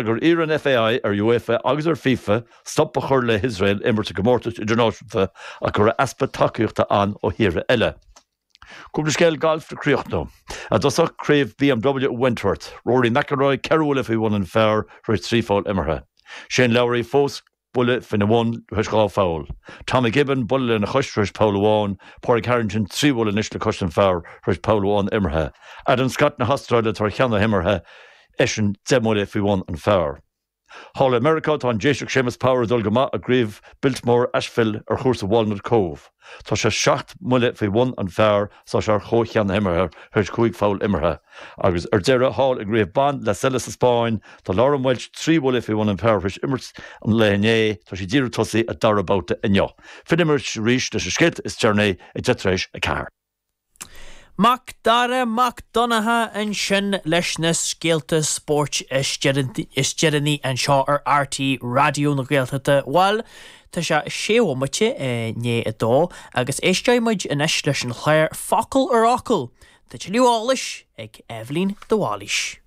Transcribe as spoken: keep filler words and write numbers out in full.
gur iarr an FAI ar UEFA agus ar FIFA stop a chur le hIosrael imirt i gcomórtais idirnáisiúnta ach go raibh easpa tacaíochta ann ó thíortha eile. Cúpla scéal gailf le críochnú. I dtosach Craobh BMW Wentworth, Rory McIlroy ceithre bhuille faoi bhun an phar tar éis trí pholl imeartha. Shane Lowry fós buille faoina bhun tar éis dhá pholl. Tommy Gibbon buille lena chois tar éis poll amháin, Pádraig Harrington trí bhuille anois le cois an phar tar éis poll amháin imeartha. Adam Scott na hAstráile atá ar cheann na himeartha eisean deich mbuille faoi bhun an phar. Thall i Meiriceá tá an Déiseach Séamus Power ag dul go maith i gCraobh Biltmore Asheville ar chúrsa Walnut Cove. Tá sé seacht mbuille faoi bhun an phar is tá sé ar chomhcheann na himeartha tar éis cúig pholl imeartha. Agus ar deireadh thall i gCraobh Ban La Sella sa Spáinn, tá Lauren Welch trí bhuille faoi bhun an phar tar éis imirt an lae inné, tá sí ag díriú tosaí a dara babhta inniu. Fillfimid arís leis na scéalta is deireanaí ag deich tar éis a ceathair. Mac Dara Mac Donncha ansin leis na scéalta spóirt is deireanaí anseo ar RTÉ Raidió na Gaeltachta. Bhuel, tá sé sé bhomaite i ndiaidh a dó agus éisteoidh muid anois leis an chlár Focal ar Fhocal. Tá tuilleadh eolais ag Eibhlín de Bhailís.